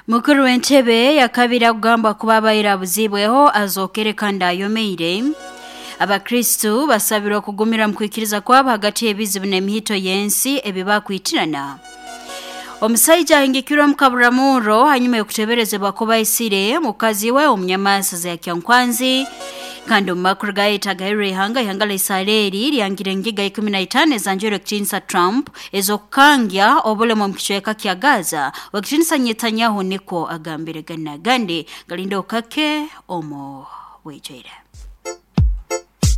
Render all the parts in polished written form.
Mukuru w'entebe yakabiri akugambwa kuba abaire abuzibweho azookere kandi ayomeire. Abakristu basabirwa okugumira mu kwikiriza kwabo hagati y'ebizibu n'emihito y'ensi ebibakwitirana. Omusaija ahingikirwe omu kaburamurro hanyuma y'okuteberezebwa kuba aisire mukazi we omunyamaswa za Kyankwanzi. Kandi omu makuru gayetagairwe ihanga, ihanga la Israeli lyangire engiga 15 ezanjwire ekitiinisa Trump ez'okukangya obulemu omu kicweka kya Gaza. Wekitiinisa Netanyahu nikwo agambire gani n'agandi galinde okake omu bwijwire.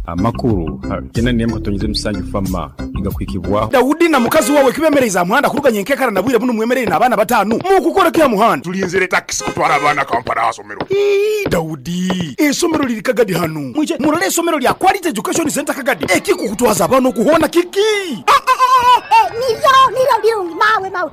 Amakuru ha kenda n'emu katonyeze musanju FAMA nigakuhikibwaho. Daudi na mukazi wawe kibemereize aha muhanda kuruga nyenkekara na bwire bunu mwemereire n'abaana batanu. Mukukora ki aha muhanda? Tulinzire takisi kutwara abaana Kampala aha somero. Ii, Daudi, esomero liri Kagadi hanu. Mwije murole esomero lya Quality Education Center Kagadi. Ekikukutwaza abaana okuhoona kiki? Niryo, niryo birungi, mawe, mawe.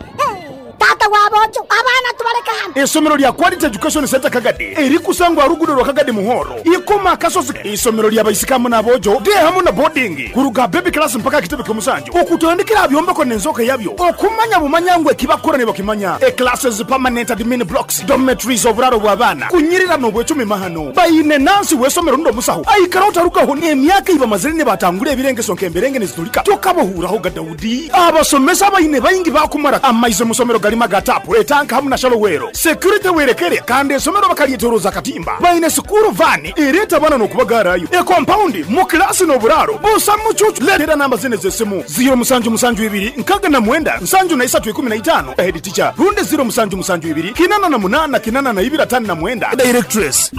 Tata w'aboojo, abaana tubaleke hanu. Esomero lya Quality Education Center Kagadi erikusangwa aha ruguudo rwa Kagadi Muhoro, Ikoma Akasozi. Isomero lya baisiki hamu n'aboojo, day hamu na boarding, kuruga baby class mpaka aha kitebe ky'omusanju, okutandikira aha byombeko n'enzooka yabyo, okumanya bumanya ngu ekibakukora nibakimanya. E classes, permanent admin blocks, dormitories, oburaaro bw'abaana, kunyirira n'obwecumi mahano. Baine nansi w'esomero rundi omusaho aikara otarugaho n'emyaka ei bamazire nibatangura ebirengeso nk'emberenge nizitulika. Tokabahuurahoga Daudi. Abasomesa baine baingi bakumara amaizi omu somero garimu aga taapu, etanka hamu na shalowero. Security werekere kandi esomero bakaryetoroza akatimba. Baine sikuuru vaani ereeta abaana n'okubagaarayo. Ekompaundi, mu kilaasi n'oburaaro busa mucuucu. Leetera namba zinu ez'esimu, ziiro musanju musanju ibiri nkaga na mwenda nsanju na isatu ikumi na itaano, head teacher, rundi ziiro musanju musanju ibiri kinana na munaana kinana na ibiri atano na mwenda, directress.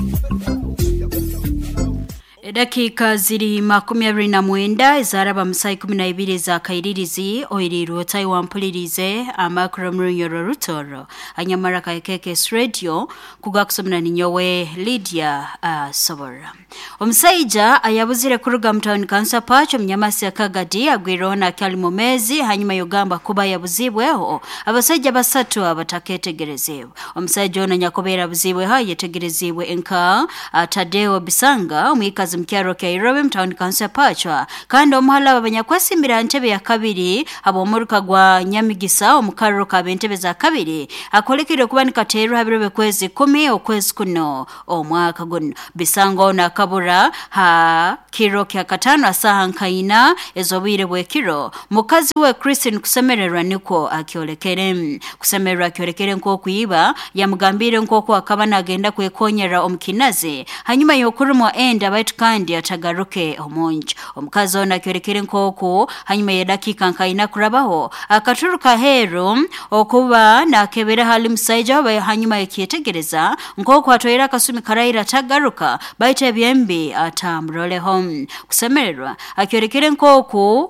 Edakiika ziri 29 ezaraba mu saa 12 za kairirizi oirirwe otayi wampulirize amakuru omurunyoro rutoro anyamara ka KKS Radio kugakusomera ninyowe Lydia Sobora. Omusaija ayabuzire kuruga mu town council Pacho omunyamasi ya Kagadi agwireho nakyali mu mezi hanyuma yogamba kuba yabuzibweho abasaija basatu abataketegerezibwe. Omusaija ono nyakubeera abuzibweho ayetegerezibwe nka Tadeo Bisanga omwikazi mukyaro kya Irobe mu town council Pachwa kandi omuhala abanyakwesimbira ntebe ya kabiri ab'omuruka gwa Nyamigisa omukarro kab'entebe za kabiri akolekere kuba nikateerwa ha biro by'okwezi 10 okwezi kuno omwaka guno. Bisanga ono akabura ha kiro kya katano asaha nkaina ez'obwire bw'ekiro. Mukazi we Christine kusemererwa nikwo akyolekere. Kusemererwa akyolekere nk'okwiba yamugambire nk'oku akaba nagenda kwekonyera omukinazi hanyuma y'okurumwa enda baitu kandi atagaruke omunju. Omukazi ono akyolekere nk'oku hanyuma y'edakiika nkaina kurabaho akaturuka heru okuba nakebera hali musaija we hanyuma yakyetegereza nk'oku atwaire akasumi karaira atagaruka baitu ebyembi atamuroleho. Kusemererwa akyolekere nk'oku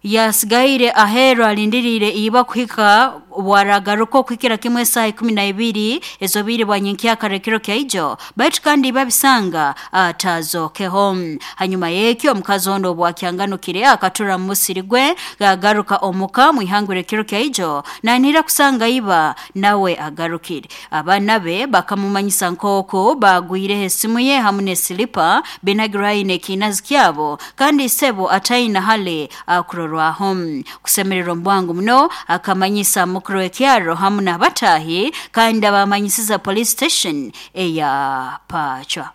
yasigaire aheru alindiriire iba kuhika bwaragaruka okuhikira kimwe esaaha 12 ez'obwire bwa nyenkyakara ekiro kyaijo baitu kandi iba bisanga atazookeho. Hanyuma y'ekyo omukazi ono obwakyanganukire akatura mu musiri gwe gagaruka omuka mwihangura ekiro kyaijo nanihira kusanga iba nawe agarukire. Abaana be bakamumanyisa nk'oku bagwireho esimu ye hamu n'esilipa binagirwaine n'ekinazi kyabo kandi isebo ataina hale akurorwaho. Kusemererwa omu bwangu muno akamanyisa mukuru w'ekyaro hamu n'abatahi kandi abamanyisiza police station eya Pachwa.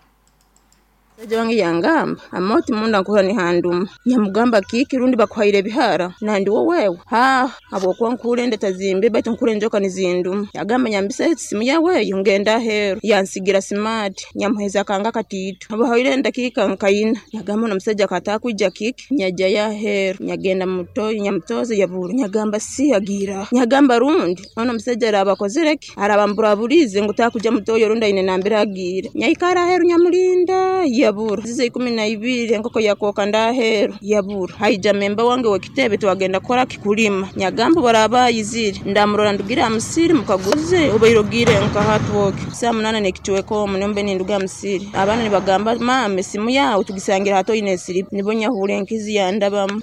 Musaija wange yangamba amoti munda nkuhura nihanduma, nyamugamba kiki rundi bakuhaire ebihara nandi wowe ha habwokuba nkuhura enda tazimbi baitu nkuhura enjoka nizinduma. Yagamba nyambisa esimu yawe eyo ngenda aheeru, yansigira smart nyamuheza akanga akatiito habahaire endakiika nkaina. Yagamba ono omusajja katakwija kiki nyajjayo aheeru nyagenda mutoyi nyamutoza yabura nyagamba si agiira nyagamba rundi ono omusajja araba akozire ki araba mburaburize ngu takuja mutoyi rundi aine nambere agiire nyaikara aheeru nyamulinda yabura zize 12 enkoko yakooka ndaheeru yabura. Haija memba wange wekitebe twagenda kukora kikulima nyagamba baraba ayizire ndamurora ndugira amusiri mukaguze obaire ogiire nkahatwoke saa 8 n'ekicweka omu niyo mbe ninduga amusiri abaana nibagamba mama esimu yawe tugisangira hatoine esiripu nibo nyahuura enkizi yandabamu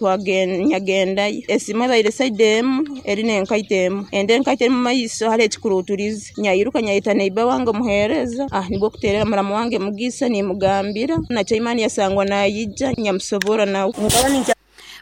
nyagendayo esimu ebaire saidi emu eri n'enkaito emu ende enkaito eri mumaiso hariho ekikuruuturize nyayiruka nyayeta neiba wange omuheereza nibwo kuteerera muramu wange Mugisa nimugambira nakyo Imani yasangwa nayija nyamusobora nawe.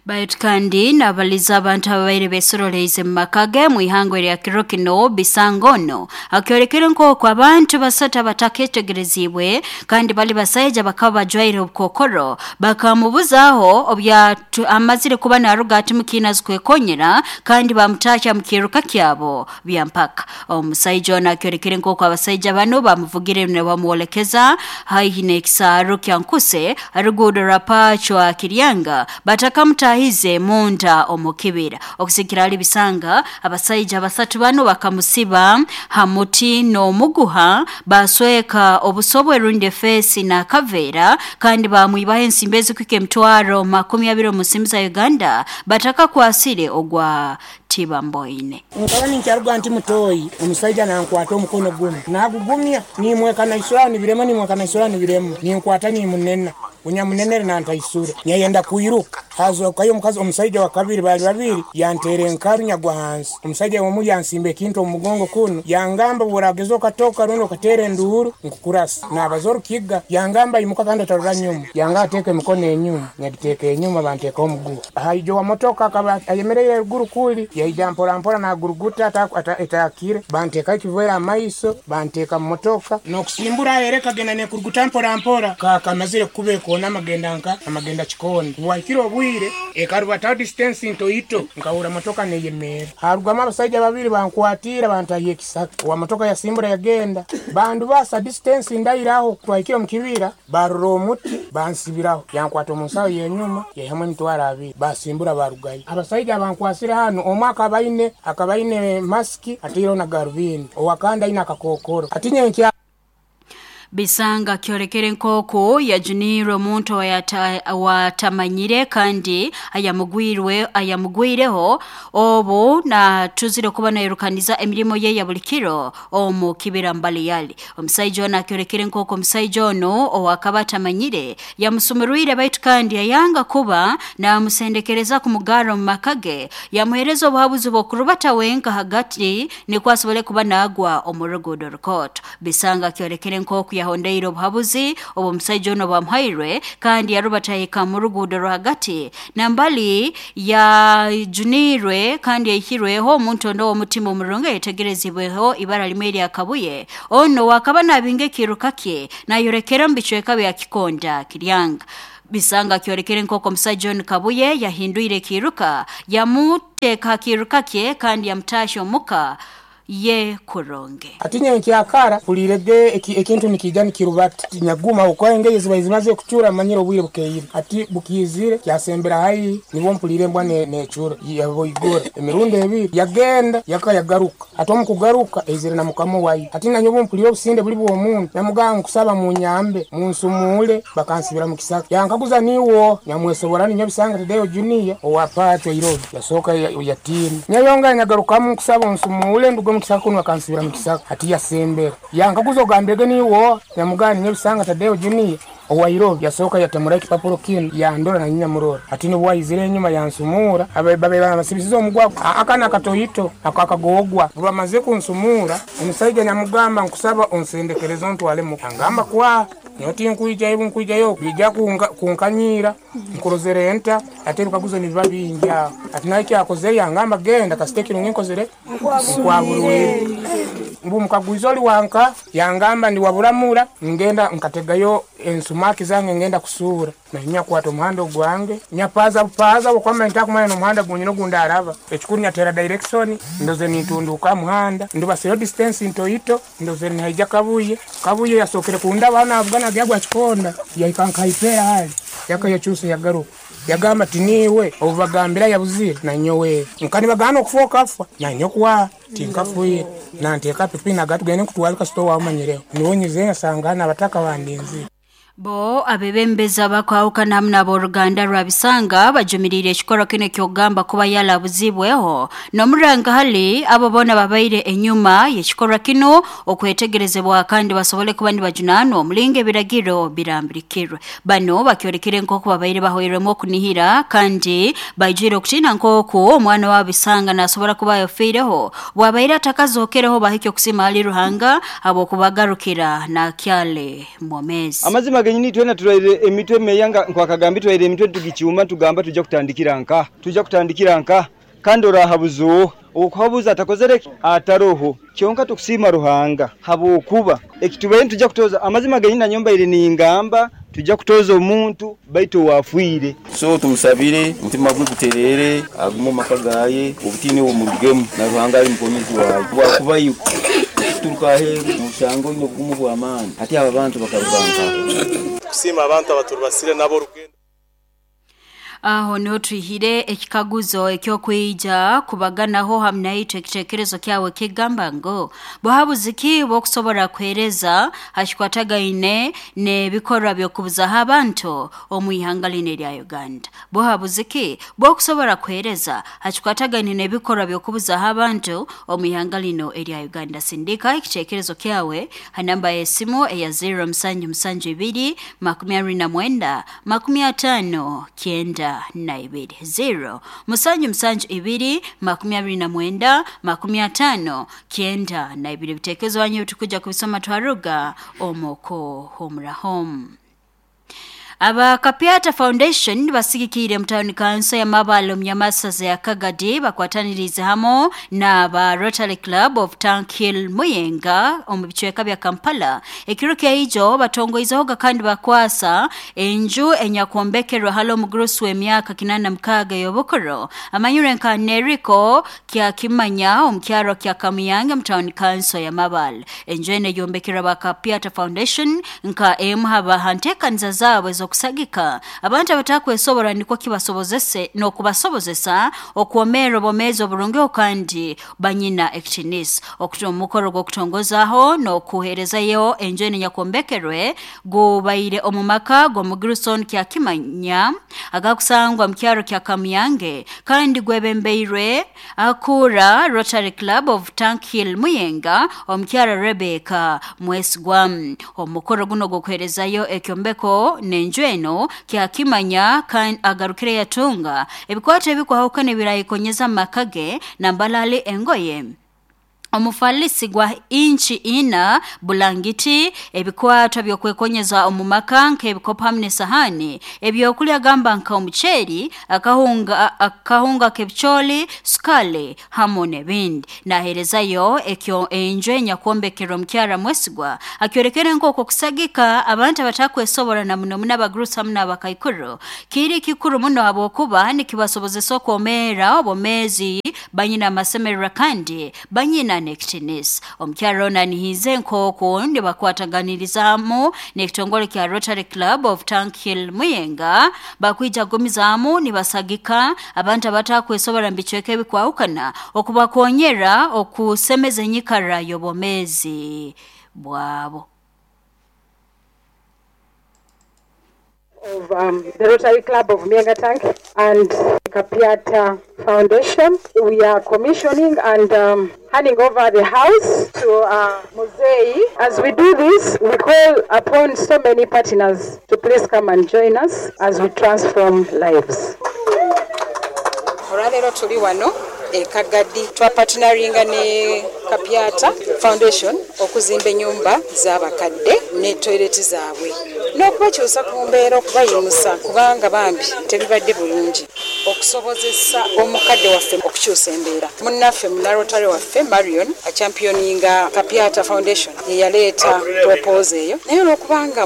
Baitu kandi nabaliza abantu ababaire besoroleize mu maka ge mu ihangwe lya kiro kino Bisangono akyolekere nk'oku abantu basatu abataketegerezibwe kandi bali basaija bakaba bajwaire obukokoro bakamubuzaaho obya amazire kuba naruga ati mukiina zikwekonyera kandi bamutakya mu kiruka kyabo byampaka. Omusaija ono akyolekere nk'oku abasaija bano bamuvugire ne bamwolekeza haihi n'ekisaaro kya Nkuse aruguudo rwa Pachwa Kiryanga batakamutahize munda omukibira. Okusikira ali Bisanga abasaija basatu bano bakamusiba hamuti n'omuguha basweka obusobwe rundi efesi na kaveera kandi bamwibaho ensimbi ezikuhika emitwaro 20 mu nsimbi za Uganda batakakwasire ogwa Tibamboine. Nkaba ninkyaruga nti mutoyi omusaija nankwata omukono gumu nagugumya nimweka naisura nibirema nimweka naisura nibirema ninkwata nimunena unyamunenere nantaisura nyayenda kuiruka hazokayo omukazi omusaija wa kabiri bali babiri yantere enkaru nyagwa hansi. Omusaija omu yansimba ekintu omu mugongo kuno yangamba burageza okatoka rundi okateera enduuru nkukurasa nabaza orukiga yangamba imuka kandi otarora nyuma yanga ateeka emikono enyuma nyagiteeka enyuma banteekaho omuguha. Haijo wa motoka akaba ayemereire eruguru kuli yaija mpora mpora naguruguta etakire banteeka ekiveera amaiso banteeka mu motoka nokusimbura ereka genda nekuruguta mpora mpora kakamazire kuba ekoona amagenda nka amagenda kikondo bwahikire obwire ekarubataho distance ntoito nkahura motoka neyemera harugamu abasaija babiri bankwatira bantahiye ekisaka wa motoka yasimbura yagenda bandu basa distance ndairaho twahikire omu kibira barora omuti bansibiraho yankwata omu nsaho yenyuma yaihamu emitwaro 2 basimbura barugayo. Abasaija bankwasire hano omwe akaba aine masiki ataireho na garubindi owakandi aine akakokoro ati nyenkya. Bisanga kyolekere nk'oku yajunirwe omuntu watamanyire kandi ayamugwireho obu natuzire kuba nairukaniza emirimo ye ya buli kiro omu kibira mbali yali. Omusaija ono akyolekere nk'oku omusaija ono owakaba atamanyire yamusumurwire baitu kandi yayanga kuba namusendekereza kumugara omu maka ge yamuhereza obuhabuzi bw'okurubata wenka hagati nikwo asobole kuba nagwa omu ruguudo rukooto. Bisanga akyolekere nk'oku yahondeire obuhabuzi obu omusaija ono bwamuhairwe kandi yarubatahika mu ruguudo rwagati nambali yajunirwe kandi yaihirweho omuntu ono w'omutima omurungi ayetegerezibweho ibara limwe erya Kabuye ono wakaba nabinga ekiruka kye nayorekera omu bicweka bya Kikonda Kiryanga. Bisanga kyolekere nk'oku omusaija ono Kabuye yahindwire ekiruka yamuteeka kiruka kye kandi yamutasha omuka ye kuronge. Ati nyenkyakara kulirege ekintu nikija nikirubata nyaguma ukwenge ziba zimaze kuchura manyira obwire bukeire ati bukizire kyasembera hayi nibo mpulire mbwa nechura yaboigora emirundi ebiri yagenda yakayagaruka ati omukugaruka ezire na mukamo wayi ati nanyobo mpulire obusinde buli bw'omuntu namuganga kusaba munyambe munsumule bakansibira mu kisaka yankaguza niwo nyamwesobora ninyo Bisanga Tadeo Junior owapacho Irobi yasoka yatini nyayonga nyagarukamu kusaba onsumule ndugo mukisaka kuno akansibira mukisaka ati yasembera yankaguza ogambege niwo nyamugani ninyo Bisanga Tadeo Junior owa yasoka yatamura ekipapuro kino yandora na nyamurora ati nibwayizire enyuma yansumura ababe basibisiza omugwa akana katoyito akakagogwa bamaze kunsumura omusaija nyamugamba nkusaba onsendekereza ontwale mu angamba kwa nyoti nkuijayo nkuijayo bija kunkanyira nkurozere enta ate bikaguzo nibiba bingi ati naye kyakoze yangamba genda kasite kirungi nkozere nkwaburwire mbu mukagwiza oli wanka yangamba ndi waburamura ngenda nkategayo ensumaki zange ngenda kusura na nyakwata omuhanda ogwange nyapaza paza okwama ntakumanya n'omuhanda gunyina ogundi araba ekikuru nyatera direction ndoze nintunduka muhanda ndubasiyo distance ntoito ndoze nihaija Kabuye Kabuye yasokere kundaba navugana gyagwa kikonda yahika nkaipera hali yakayakyusa yagaruka yagamba tiniwe obubagambira yabuzire nanyowe nkani bagana okufa okafa nanyokuwa tinkafuire nanteeka pipi nagatugende nkutwale kasito wamanyireho niwonyize nsanga abataka bandinzire. Bo abebembeza bakwahukana hamwe n'aboruganda rwa Bisanga bajumirire ekikoro kino kyogamba kuba yalabuzibweho n'omuranga hali abo bona babaire enyuma y'ekikoro kino okwetegerezebwa kandi basobole kuba nibajunanwa omulinga ebiragiro birambirikirwe. Bano bakyorekere nk'oku babaire bahoirwemu okunihira kandi baijwire okutina nk'oku omwana wa Bisanga nasobora kuba yafiireho bwabaire atakazokereho bahike okusima hali Ruhanga habw'okubagarukira nakyale mwomezi. Amazima genyini twena turwaire emitwe meya nga nkwakagambi twaire emitwe tugicyuma tugamba tujja kutandikira nka tujja kutandikira nka kandi orahabuza oha okuhabuza atakozere ataroho kyonka tukusiima Ruhanga habwokuba ekitubaire tujja kutoza amazima genyini nanyombaire ningamba tujja kutoza omuntu baitu owafiire. So tumusabire omutima gwe guterere agume omu maka gaye obutiini obumurugemu na Ruhanga ali mukonyezi waye bwakubayo kuturuka aheeru noshanga oine obugumu bw'amaani hati aba bantu bakaruga nkaha. Tukusiima abantu abaturubasire nabo orugendo. Aho niho twihire ekikaguzo eky'okwija kubaganaho hamu naitwe ekitekerezo kyawe kigamba ngu buhabuzi ki bw'okusobora kuheereza ha kikwatagaine n'ebikorwa by'okubuzaho abantu omu ihanga linu erya Uganda. Buhabuzi ki bw'okusobora kuheereza ha kikwatagaine n'ebikorwa by'okubuzaho abantu omu ihanga linu erya Uganda. Sindika ekitekerezo kyawe ha namba y'esimu eya 0772 29 50 92 0 772 29 50 92. Ebitekerezo wanyu tukuja kubisoma twaruga omoko homurahom. Aba Kapiata Foundation basigikire mutawuni kanso ya Mabalo mnyamasaza ya Kagadi bakwatanirize hamo na ba Rotary Club of Tank Hill Muyenga omu bicweka bya Kampala. Ekiro kya ijo batongoizehoga kandi bakwasa enju enyakwombekerwa halo omugurusi w'emyaka 86 y'obukuru amanyire nka Neriko kya Kimanya omu kyaro kya Kamuyange mutawuni kanso ya Mabalo. Enju eno eyombekerwa ba Kapiata Foundation nka emu haba hanteekaniza zaabwe okusagika abantu abatakwesobora nikwo kibasobozese n'okubasobozesa okwomera obwomeezi oburungi kandi banyina ekitinisa. Omukoro gw'okutongozaho n'okuheerezayo enju eno enyakwombekerwe gubaire omu maka g'omugirison kya Kimanya agakusangwa mu kyaro kya Kamuyange kandi gwebembeirwe akura Rotary Club of Tank Hill Muyenga omukyara Rebecca Mwesigwa. Omukoro guno gw'okuheerezayo ekyombeko n'enju eno kyakimanya kandi agarukire yatunga ebikwato ebikwahukana ebirayikonyeza amaka ge nambalali engoye omufalisi gwa inchi ina bulangiti ebikwato byokwekonyeza omu maka nk'ebikopo hamwe n'esahani ebyokulya gamba nka omuceeri akahunga k'ebicooli sukali hamwe n'ebindi. Naheerezayo ekyo enju enyakwombekerwa omukyara Mwesigwa akyorekere nk'okwo kusagika abantu abatakwesobora na muno muno abagurusi hamwe n'abakaikuru kiri kikuru muno habwokuba nikibasobozesa okwomeera obwomeezi banyina amasemererwa kandi banyina n'ekitinisa. Omukyara ono anihize nk'oku nibakwataganirizamu n'ekitongole kya Rotary Club of Tank Hill Muyenga bakwija kugumizaamu nibasagika abantu abatakwesobora mu bicweka ebikwahukana okubakonyera okusemeza enyikara y'obwomeezi bwabo. Of the Rotary Club of Muyenga Tank and Kapiata Foundation. We are commissioning and handing over the house to Muzei. As we do this, we call upon so many partners to please come and join us as we transform lives. Olwaleero tuli wano e Kagadi twapartneringa ne Kapiata Foundation okuzimba ennyumba z'abakadde ne toilet zaabwe n'okubakyusa ku mbeera okubayimusa kubanga bambi tebibadde bulungi okusobozesa omukadde waffe okukyusa embeera. Munnaffe munarotary waffe Marion achampioninga Kapiata Foundation ye yaleeta propose eyo, naye olwokubanga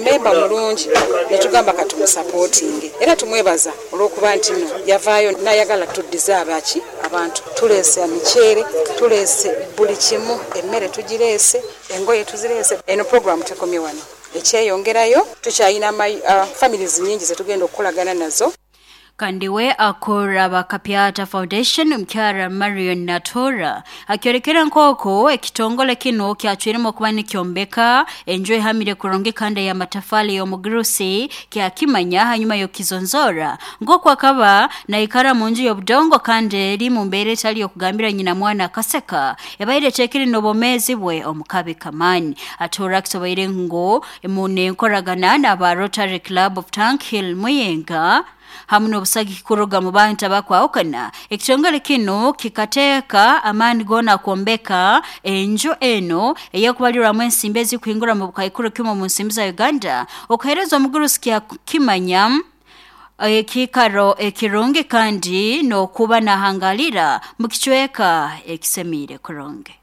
memba mulungi ne tugamba katumusapootinge era tumwebaza olw'okuba nti nno yavaayo n'ayagala tuddize abaki abantu. Tuleese emiceere, tuleese buli kimu, emmere tugireese, engoye tuzireese. Eno programu tekomye wano, ekyeyongerayo tukyalina families nyingi zetugenda okukolagana nazo. Kandi we akora Bakapiata Foundation omukyara Marion Natora akyorekera nk'oko ekitongole kino kyacwiremu okuba nikyombeka enju ehamire kurungi kandi y'amatafali y'omugurusi kyakimanya hanyuma y'okizonzora nk'oku akaba naikara mu nju y'obudongo kandi eri mu mbeera etali y'okugambira nyina mwana akaseka ebaire eteekere n'obwomeezi bwe omu kabi kamaani. Atora akisoboire ngu munenkoragana n'aba Rotary Club of Tank Hill Muyenga Hamu n'obusagiki kuruga mu bantu abakwahukana, ekitongole kinu kikateeka amaani goona kwombeka enju eno ey'okubalirwamu ensimbi ezikuhingura mu bukaikuru kimu mu nsimbi za Uganda okuheereza omugurusi Kyakimanya ekiikaro ekirungi kandi n'okuba nahangalira mu kicweka ekisemiire kurungi.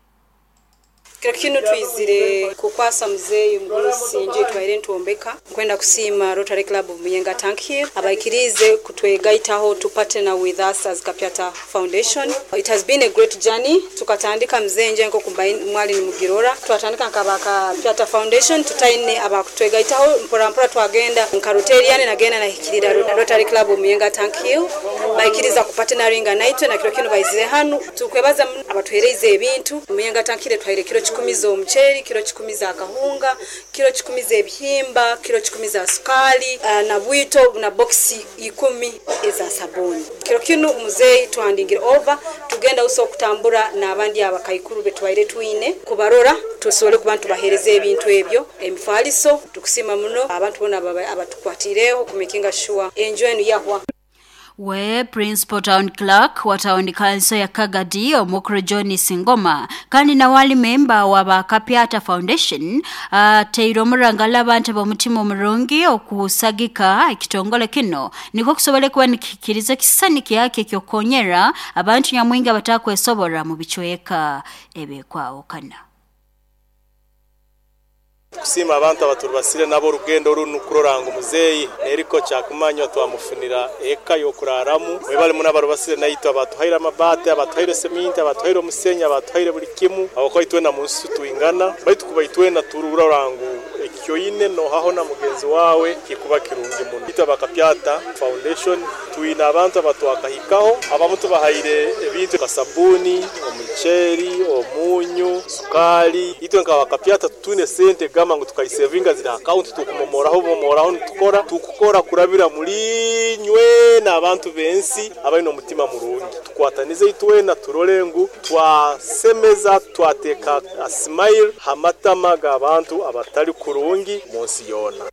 Kiro kinu twizire kukwasa muzeeyi omugurusi enju eitwaire nitwombeka. Nkwenda kusiima Rotary Club of Muyenga Tank Hill abaikiriize kutwegaitaho to partner with us as Kapyata Foundation. It has been a great journey. Tukatandika muzeeyi enju nkoku mwali nimugirora. Twatandika nka aba Kapyata Foundation tutaine abakutwegaitaho, mpora mpora twagenda nka Rotarian nagenda nahikirira Rotary Club of Muyenga Tank Hill baikiriza kupartneringa naitwe na kiro kinu baizire hanu. Tukwebaza muno abatuhereize ebintu. Muyenga Tank Hill etuhaire kiro kikumi z'omuceeri, kiro kikumi za kahunga, kiro kikumi z'ebihimba, kiro kikumi za sukaali na bwito na bokisi ikumi eza sabuuni. Kiro kinu muzeeyi tuhandingire over tugenda busa okutambura n'abandi abakaikuru betubaire twine kubarora tusobole kuba nitubaheereza ebintu ebyo, emifaliso. Tukusiima muno abantu boona abatukwatiireho kumekinga shuwa enju enu yahwa. We Principal Town Clerk wa Town Council ya Kagadi Omukuru John Singoma kandi nawe ali memba wa ba Kapyata Foundation ateire omurangala abantu b'omutima omurungi okusagika ekitongole kino nikwo kusobole kuba nikikiriza ekisisani kyake eky'okukonyera abantu nyamwingi abatakwesobora mu bicweka ebikwahukana. Tukusiima abantu abaturubasire nabo orugendo runu kurora ngu muzeeyi Neriko Kyakumanywa twamufunira eka y'okuraramu. Mwebale muno abarubasire naitwe, abatuhaire amabaati, abatuhaire seminti, abatuhaire omusenyi, abatuhaire buli kimu, habwokuba itwena mu nsi twingana, baitu kuba itwena turora ngu ekyoine nohaho na mugenzi wawe kikuba kirungi muno. Itwe aba Kapyata Foundation twine abantu abatwakahikaho, abamu tubahaire ebintu nka sabuuni, omuceeri, omunyu, sukaali. Itwe nka Bakapyata tutwine sente gamba ngu tukaisevinga ziri ha akaunti tukumomoraho bumomoraho nitukora, tukukora kurabira muli inywe n'abantu b'ensi abaine omutima murungi. Tukwatanize itwena turole ngu twasemeza, twateeka a smile ha matama g'abantu abatali kurungi mu nsi yoona.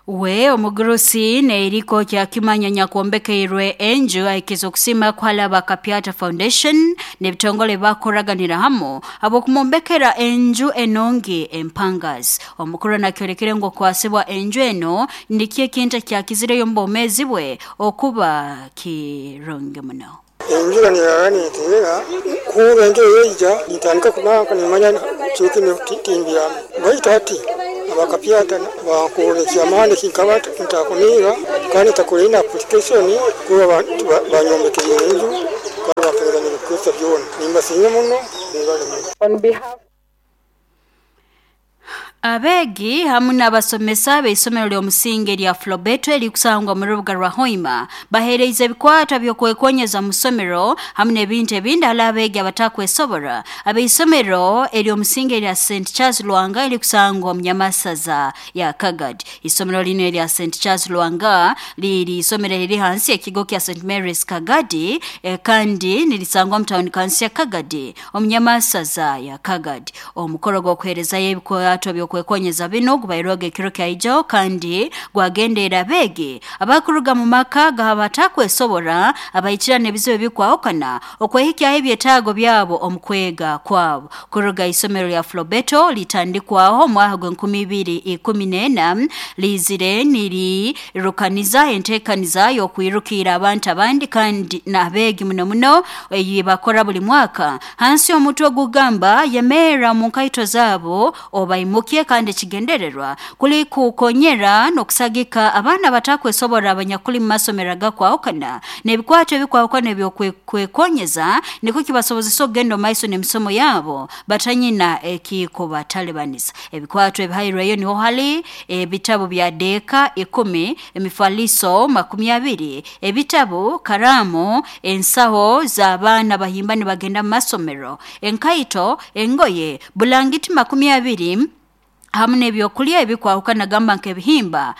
We omugurusi Neriko Kyakimanya nyakwombekeirwe enju ahikize okusiima kuhala aba Kapyata Foundation n'ebitongole bakoraganira hamu habw'okumwombekera enju enungi empangazi. Omukuru nakyolekere ngu okwasibwa enju eno nikyo ekintu ekyakizireyo omu bwomeezi bwe okuba kirungi muno. Enjura neyara neteera, kuhurra enjura yaija nintandika kubanka nimanya kiro kinu timbyama. Baitu hati abakapyata bankorra eky'amaani eki nkaba ntakunihira kandi ntakoreire na application kuba banyombekeriire enju kandi bampereza n'ebikukozesa byona. Nimbasiima muno, mwebale muno. On behalf. Abeegi hamu n'abasomesa b'eisomero ly'omusingi erya Flobetto erikusangwa mu rubuga rwa Hoima baheereize ebikwatwa by'okwekonyeza mu ssomero hamu n'ebintu ebindi hali abeegi abatakwesobora ab'eisomero ery'omusingi erya St Charles Lwanga erikusangwa omu Nyamasaza ya Kagadi. Isomero linu erya St Charles Lwanga liri isomero eriri hansi y'ekigo kya St Mary's Kagadi kandi nirisangwa omu tawuni kansi ya Kagadi omu Nyamasaza ya Kagadi. Omukoro gw'okuheerezayo ebikwato by'okwekonyeza binu gubairwega ekiro kyaijo kandi gwagendeera abeegi abakuruga mu maka g'abatakwesobora abahikira n'ebizibu ebikwahukana okwehikyaho ebyetaago byabo omu kwega kwabo. Kuruga isomero lya Flobetto litandikwaho omwaka gw'enkumi ibiri ikumi n'ena liizire nirirukaniza enteekaniza y'okwirukiira abantu abandi kandi n'abeegi muno muno ei bakora buli mwaka hansi y'omutwe ogugamba yemerra mu nkaito zaabo obaimukye, kandi ekigendererwa kuli kukonyera n'okusagika abaana abatakwesobora abanyakuli mu masomero agakwahukana n'ebikwato ebikwahukana eby'okwekonyeza nikwo kibasobozesa okugenda omu maiso n'emisomo yabo batanyina ekikubatalibaniza. Ebikwato ebihairweyo niho hali ebitabu bya deeka ikumi, emifaliso makumi abiri, ebitabu, karaamu, ensaho z'abaana bahimba nibagenda mu masomero, enkaito, engoye, bulangiti makumi abiri hamu n'ebyokulya ebikwahukana gamba nk'ebihimba,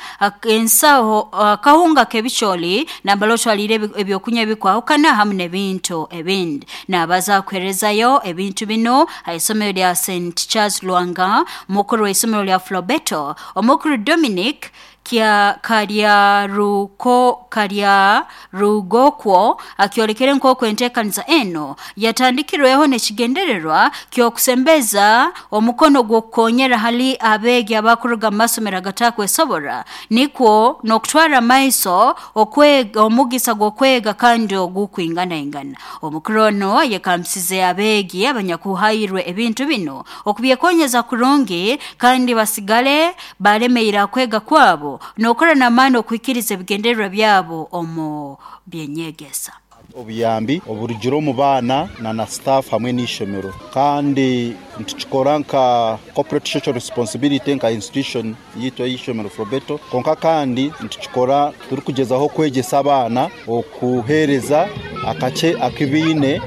ensaho, akahunga k'ebicooli nambala otwaliire ebyokunywa ebikwahukana hamu n'ebintu ebindi. Naabaza kuheerezayo ebintu binu ha isomero lya St Charles Lwanga, mukuru w'isomero lya Flobetto, omukuru Dominic Kya Karyaruko Karyarugokwo akyolekere nk'oku enteekaniza eno yatandikirweho n'ekigendererwa ky'okusembeza omukono gw'okukonyera hali abeegi abakuruga mu masomero agatakwesobora nikwo n'okutwara amaiso okwega omugisa gw'okwega kandi ogukwinganaingana. Omukuru ono ayekambisize abeegi abanyakuhairwe ebintu bino okubyekonyeza kurungi kandi basigale balemeire akwega kwabo n'okora n'amaani okuhikiriza ebigendererwa byabo omu byenyegesa. Obuyambi oburugire omu baana na staff hamwe n'ishomero, kandi nitukikora nka corporate social responsibility nka institution yitu ey'ishomero Frobeto, konka kandi nitukikora turikugezaho kwegyesa abaana okuheereza akace akibiine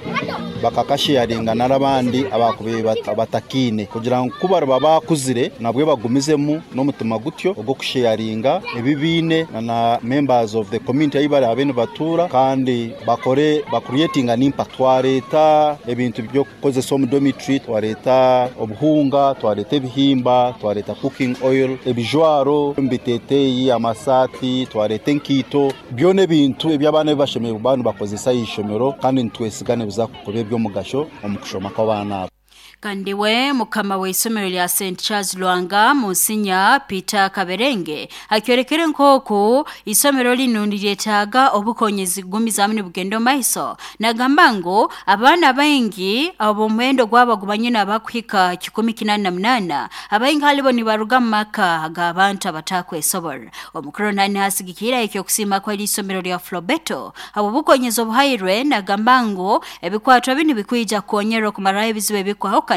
bakakasharinga n'abandi abakubaire batakiine, kugira ngu ku bariba bakuzire nabwe bagumizemu n'omutima gutyo ogw'okusharinga ebibiine na members of the community ahi barabe nibatuura, kandi bakore bacreatinga an impact. Twareeta ebintu by'okukozesa omu dormitory, twareeta obuhunga, twareeta ebihimba, twareeta cooking oil, ebijwaro, ebiteteeyi, amasaati, twareeta enkiito, byona ebintu eby'abaana bibashemereire kuba nibakozesa aha ishomero, kandi nitwesiga nibiza kuba eby'omugasho omu kushoma kw'abaana abo. Kandi we mukama w'isomero lya St Charles Lwanga Monsinya Peter Kaberenge akyorekere nk'oku isomero linu niryetaaga obukonyezi kugumizamu nibugenda omu maiso. Nagamba ngu abaana baingi ab'omuhendo gwabo gubanyine abakuhika 188 abaingi halibo nibaruga mu maka g'abantu abatakwesobora. Omukuru nani hasigikira ekyokusiima kw'eri isomero lya Frobeto habw'obukonyezi obuhairwe. Nagamba ngu ebikwatwa binu bikwija kukonyera okumaraho ebizibu ebikwahukana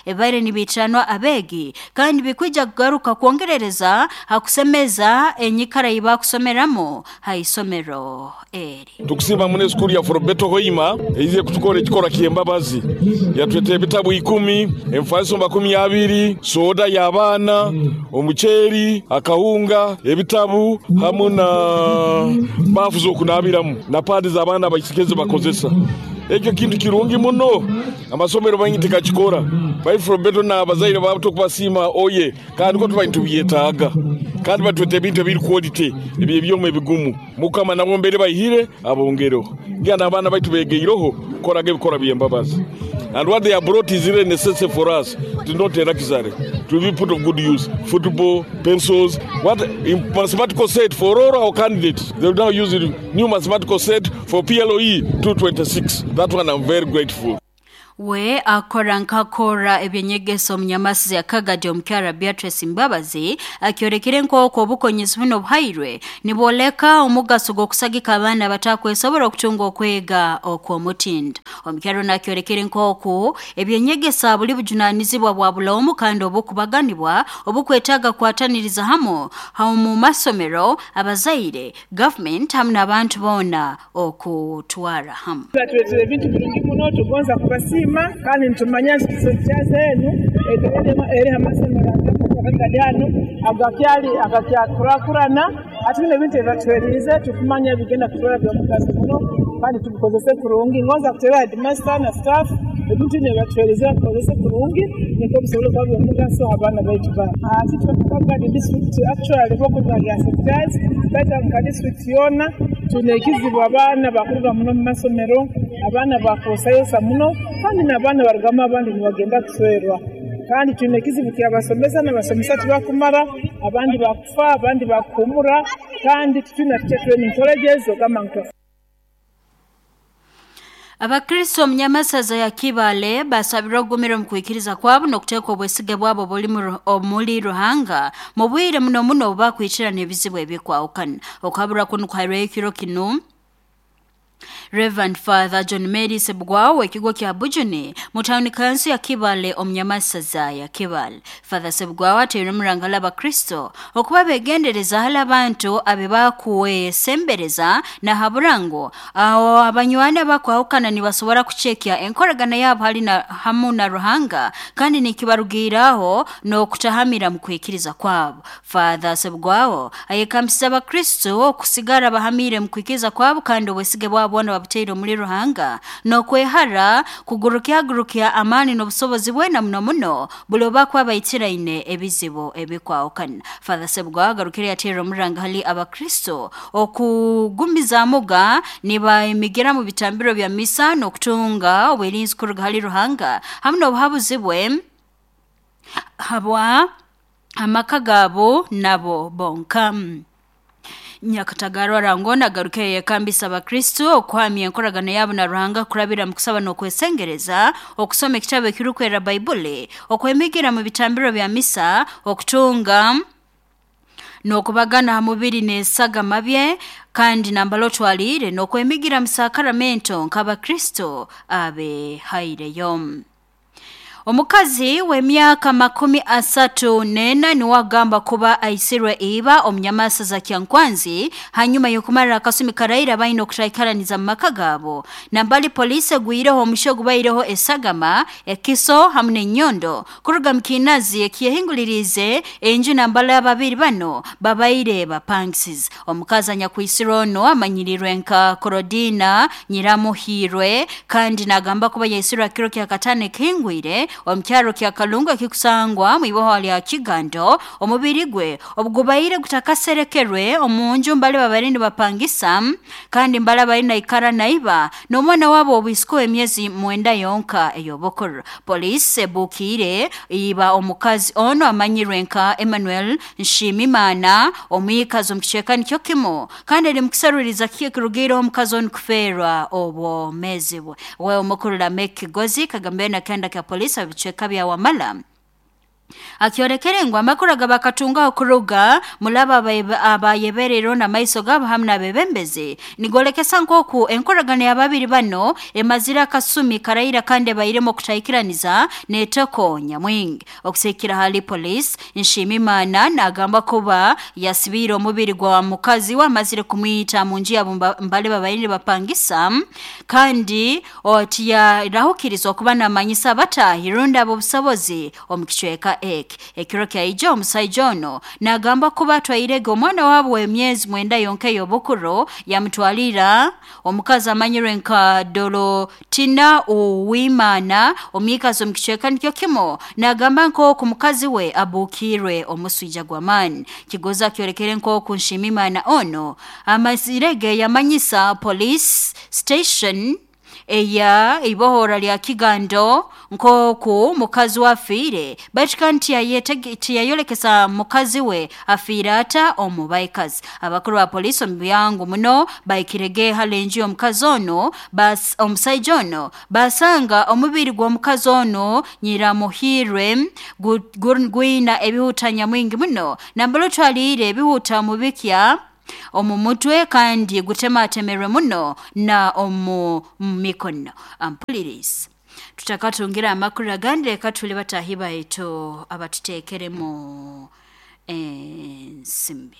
ebibaire nibiitiranwa abeegi, kandi bikwija kugaruka kwongerereza hakusemeza enyikara ei bakusomeramu ha isomero eri. Tukusiima muno esukuru ya Frobeto Hoima eize kutukora ekikorwa ky'embabazi, yatweta ebitabu 10, emifaliso 20, soda y'abaana, omuceeri, akahunga, ebitabu hamu na baafu z'okunaabiramu na paadi z'abaana abaisikizi bakozesa. Ekyo kintu kirungi muno, amasomero maingi tikakikora. Baitu Frobeto n'abazaire baabo tukubasiima oye, kandi ko tuba nitubyetaaga, kandi batweta ebintu ebiri quality, ebyebyoma ebigumu. Mukama nabo mbere baihire abongereho ngira n'abaana baitu begeireho kukoraga ebikorwa by'embabazi. And what they have brought is really necessary for us. It is not a luxury. To be put of good use. Football, pencils, what in mathematical set for all our candidates. They will now use the new mathematical set for PLOE 226. That one I'm very grateful. We akora nkakora ebyenyegesa omunyamasizi akagadi omukyara Beatrice Mbabazi akyorekere nk'oku obukonyezi buno obuhairwe nibwoleka omugaso gw'okusagika abaana abatakwesobora okutunga okwega okw'omutindo. Omukyara ono akyorekere nk'oku ebyenyegesa buli bujunanizibwa bwa buloomu kandi obukubaganibwa obukwetaaga kukwataniriza hamu mu masomero, abazaire, gavumenti hamu n'abantu boona okutwara hamu. Batuleetera ebintu birungi muno, tugonza kubasiima, kandi nitumanya nti St. enu eri amasomero akagadi ano agakyali agakyakurakurana. Ati bino ebintu ebibatuheriize tukumanya bigenda kutwara byomugaso muno, kandi tubikozese kurungi. Ngonza kutera headmaster na staff, ebintu bino ebibatuheriize babikozese kurungi nikwo bisobole kuba byomugaso abaana baitu bana. Ati Kagadi district, actually bokuruga lya St. Charles, baitu nka district yoona tuna ekizibu, abaana bakuruga muno mu masomero, abaana bakwosayosa muno, kandi n'abaana barugamu abandi nibagenda kuswerwa, kandi twine ekizibu kyabasomesa, n'abasomesa tibakumara, abandi bakufa, abandi bakuhumura, kandi titwina teacher training colleges ogamba ngu Abakristo omunyamasaza ya Kibale basabirwa okugumira omu kwikiriza kwabo n'okuteeka obwesige bwabo buli omuli Ruhanga mu bwire muno muno obu bakwikirana ebizibu ebikwahukana. Okuhabura kunu kuhairweyo ekiro kinu Reverend Father John Mary Sebugwawo w'ekigo kya Bujuni mu tawuni kanso ya Kibale omunyamasaza ya Kibale. Father Sebugwawo ateire omurangala abakristo okuba begendereza hali abantu abe bakuwesembereza nahabura ngu aho abanywani abakwahukana nibasobora kucekya enkoragana yabo hali na, hamu na Ruhanga, kandi nikibarugiiraho n'okutahamira mu kwikiriza kwabo. Father Sebugwawo ayekambisiza abakristo okusigara bahamire mu kwikiriza kwabo kandi obwesige bwabo bwabo bwona babutaire omuli Ruhanga n'okwehara kugurukyagurukya amaani n'obusobozi bwena muno muno buli obakuba baitiraine ebizibu ebikwahukana. Father Sebugwawo agarukire yateera omuranga hali abakristo okugumizaamuga nibaemigira mu bitambiro bya misa n'okutunga obwerinzi kuruga hali Ruhanga hamu n'obuhabuzi bwe habwa amaka gaabo nabo bonka. Nyakatagara Rangona agaruke yekambisa abakristo okuhamya enkoragano yabo na Ruhanga kurabira mu kusaba n'okwesengereza, okusoma ekitabo ekirukwera Baibuli, okwemigira mu bitambiro bya misa, okutunga n'okubagana ha mubiri n'esagama bye kandi nambala otwaliire n'okwemigira mu sakaramento nk'abakristo abehaireyo. Omukazi w'emyaka 34 niwe agamba kuba aisirwe iba omunyamasa za Kyankwanzi hanyuma y'okumarira akasumi karaira baine okutaikaraniza mu maka gaabo. Nambali polisi egwireho omusho gubaireho esagama, ekiso hamu n'ennyondo kuruga mu kiinazi ekiyehinguliriize enju nambala ababiri bano babaire bapangisize. Omukazi anyakwisirwe ono amanyirirwe nka Korodina Nyiramuhirwe kandi nagamba kuba yaisirwe kiro kya katano ekihingwire omu kyaro kya Kalungu ekikusangwa mu iboho lya Kigando. Omubiri gwe obugubaire gutakaserekerwe omu nju mbali babaire nibapangisa kandi mbali bari naikara naiba n'omwana wabo obwisiko emyezi 9 yonka ey'obukuru. Polisi ebukiire iba omukazi ono amanyirwe nka Emmanuel Nshimimana omwikazi omu kicweka nikyo kimu kandi eri mukusaruriza kiki ekirugiireho omukazi onu kufeerwa obwomeezi bwe. We omukuru Lameck Kigozi kagambire na kenda kya polisi ebicweka bya Wamala akyorekere ngu amakuru agabakatungaho kuruga mulaba abayebereire n'amaiso gaabo hamu n'abebembezi nigolekesa nk'oku enkoragano y'ababiri bano emazire akasumi karaira kandi ebairemu okutaikiraniza n'etoko nyamwingi. Okusiikira hali polisi, Nshimimana nagamba kuba yasibiire omubiri gwa mukazi we amazire kumwita mu nju yabo mbali babaire nibapangisa kandi tiyarahukirizwa okuba namanyisa abatahi rundi ab'obusobozi omu kicweka eki. Ekiro kyaija omusaija ono nagamba kuba atwairege omwana wabo w'emyezi 9 yonka ey'obukuru yamutwalira omukazi amanyirwe nka Dorotina Uwimana omwikazi omu kicweka nikyo kimu nagamba nk'oku mukazi we abuukirwe omuswija gw'amaani. Kigozi akyorekere nk'oku Nshimimana ono amazirege yamanyisa police station eya ibohora lya Kigando nk'oku mukazi we afiire baitu kandi tiyayolekesa mukazi we afiire ata omu baikazi. Abakuru ba polisi omu byangu muno baikirege hali enju y'omukazi ono omusaija ono basanga omubiri gw'omukazi ono Nyiramuhirwe gwina ebihuta nyamwingi muno nambala otwaliire ebihuta mubikya omu mutwe kandi gutematemerwe muno na omu mikono. Ampulirizi tutakatungira amakuru agandi reka tuli batahi baitu abatuteekeremu ensimbi.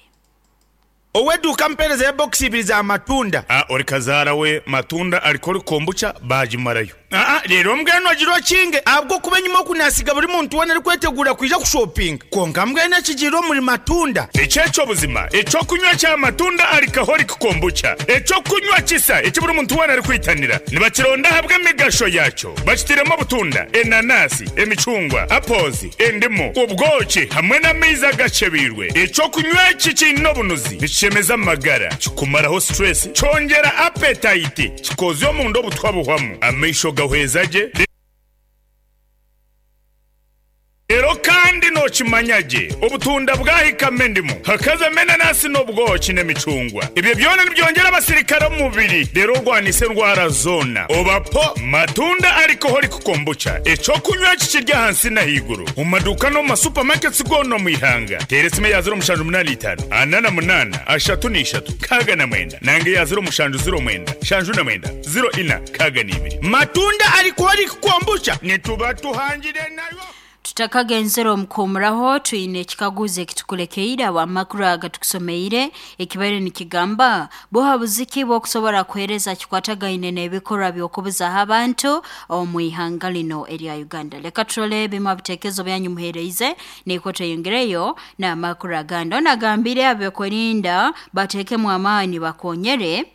Ow'eduuka mpeereza ya bokisi ibiri za matunda. A Ori kazaara we matunda alikori kombucha baagimarayo. Aa Reero mbwenu ogira okinge ahabw'okuba enyima oku naasiga buri muntu weena arikweteguura kwija kushopinga. Kwonka mbwenu ekigiire omuri matunda. Eki eky'obuzima, eky'okunywa kya matunda alcoholic kombucha, eky'okunywa kisa eki buri muntu weena arikwitanira. Nibakironda ahabw'emigasho yaakyo. Bakitairemu obutunda, enanasi, emicungwa, apples, endimu, obwoki hamwe n'amaizi agakyebeirwe. Eky'okunywa eki kiine obunuzi, nikishemeza amagara, kikumaraho stress, kyongyera appetite, kikoozya omunda obutwa buhwamu, amaisho gahweza gye, Reero kandi nookimanya gye, obutunda bwahikamu endimu, hakazamu enanasi n'obwoki n'emicungwa. Ebyo byona nibyongyera abasirikare omu mubiri reero orwanise endwara zoona. Oba po matunda alcoholic kombucha, eky'okunywa eki kiri ahansi n'ahaiguru omu maduuka n'omu ma supermarkets goona omu ihanga. Teera esimu eya 0785 48 33 69 nanga eya 0709 79 04 62. Matunda alcoholic kombucha nituba tuhangire nayo. Tutakagenzere omukuumuraho twine ekikaguzo ekitukulekeire amakuru aga tukusomeire ekibaire nikigamba buhabuzi ki bw'okusobora kuheereza kikwatagaine n'ebikorwa by'okubuzaho abantu omu ihanga lino erya Uganda. Leka turole ebimu bitekerezo byanyu muheereize nikwo tweyongereyo n'amakuru agandi. Ono agambire abekwerinda bateekemu amaani bakonyere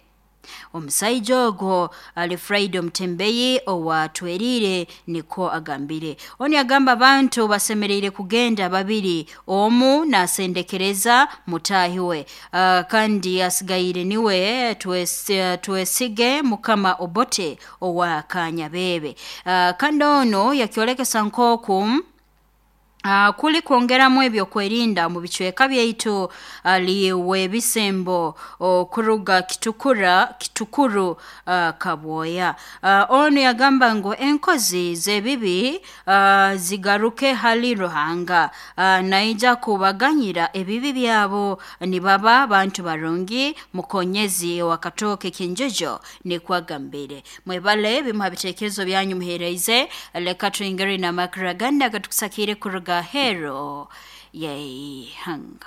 Omusaija ogwo ali Friday Omutembeyi owatwerire niko agambire. Oni agamba abantu basemereire kugenda babiri, omu nasendekereza mutahi we, kandi asigaire niwe twesige Mukama Obote owa Kanyabebe. Kandi ono yakyolekesa nkoku kuli kwongeramu ebyokwerinda mu bicweka byaitu aliwe ebisembo okuruga kitukura kitukuru kabwoya. Ono yagamba ngu enkozi z'ebibi zigaruke hali Ruhanga, naija kubaganyira ebibi byabo nibaba bantu barungi. Mukonyezi wa Katooke Kinjojo nikwagambire. Mwebale bimuha bitekerezo byanyu muhereize. Leka tuingere na makraganda gatukusakire kuruga hero yeihanga.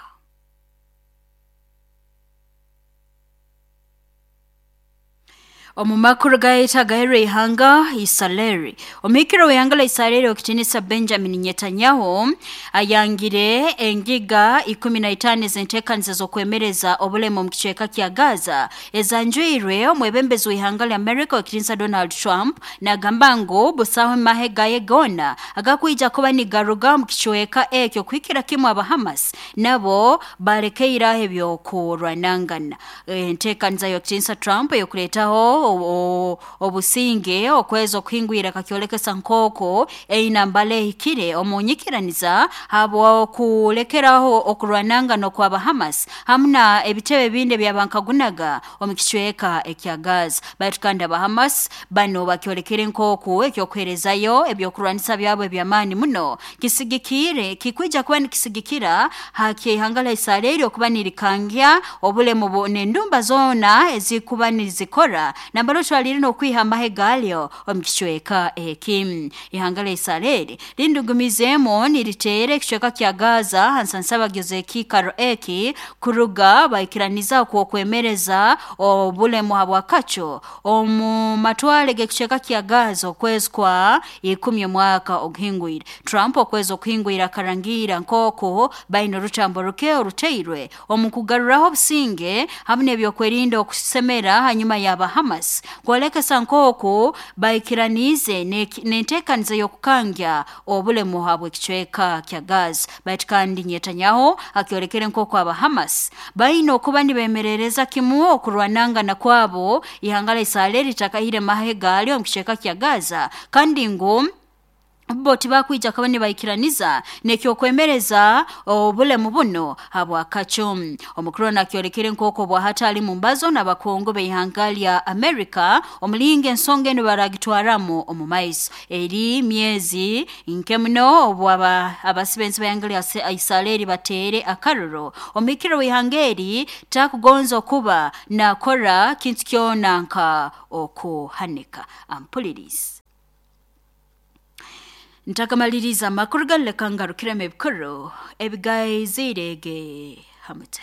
Omu makuru gaita gahero ihanga Israeli. Omukiro w'ihanga la Israeli okitinisa Benjamin Netanyahu ayangire engiga 15 z'enteekaniza z'okwemereza obulemu omu kicweka kya Gaza ezanjwirwe omwebembezi w'ihanga lya America okitinisa Donald Trump, nagamba ngu busaho mahe gaye gona agakwija kuba nigaruga omu kicweka ekyo kuhikira kimwe aba Hamas nabo balekeiraho ebyokurwanangana. Enteekaniza y'okitinisa Trump eyokuleetaho obusinge okwezi okuhingwira kakyolekesa nkoko einambala ehikire omunyikiraniza habwokulekeraho okurwanangana okwaba Hamas hamuna ebitebe ebindi ebyabankagunaga omu kicweka ekya Gaza. Baitu kandi aba Hamas bano bakyolekere nkoku ekyokuherezayo ebyokurwanisa byabo ebyamaani muno kisigikire kikwija kuba nikisigikira hakyihanga la Israeli okuba nirikangya obulemu n'endumba zoona ezikuba nizikora nambalo twalire n'okwiha amahe galyo omu kicweka eki. Ihanga la Israeli lindugumizeemu niriteera ekicweka kya Gaza hansansabagizo ekiikaro eki kuruga baikiraniza okwokwemereza obulemu habwakaco omu matwale g'ekicweka kya Gaza okwezi kwa 10 omwaka oguhingwire. Trump okwezi okuhingwire akarangira nk'oku baine orutambo ruke oruteirwe omu kugaruraho obusinge hamwe n'ebyokwerinda okusemera hanyuma y'aba Hamas kwolekesa nkoku baikiranize n'enteekaniza y'okukangya obulemu habw'ekicweka kya Gaza. Baitu kandi Netanyahu akyolekere nkoku aba Hamas baine okuba nibemerereza kimu okurwanangana kwabo ihanga la Israeli litakahire mahe galyo omu kicweka kya Gaza, kandi ngu bo tibakwija kuba nibaikiraniza nekyokwemereza obulemu buno habwakaco. Omukuru nakyolekere nk'oku obwahati ali mu mbazo n'abakungu b'ihanga lya Amerika omulinga ensonga enu baragitwaramu omu maiso. Eri myezi nke muno obu abasibenzi b'ihanga lya Israeli bateere akaruro. Omukiro w'ihanga eri takugonza okuba nakora kintu kyona nka okuhanika. Ampulirizi. Ntakamaliriza amakuru galeka ngarukiremu ebikuru ebigaizirege hamute.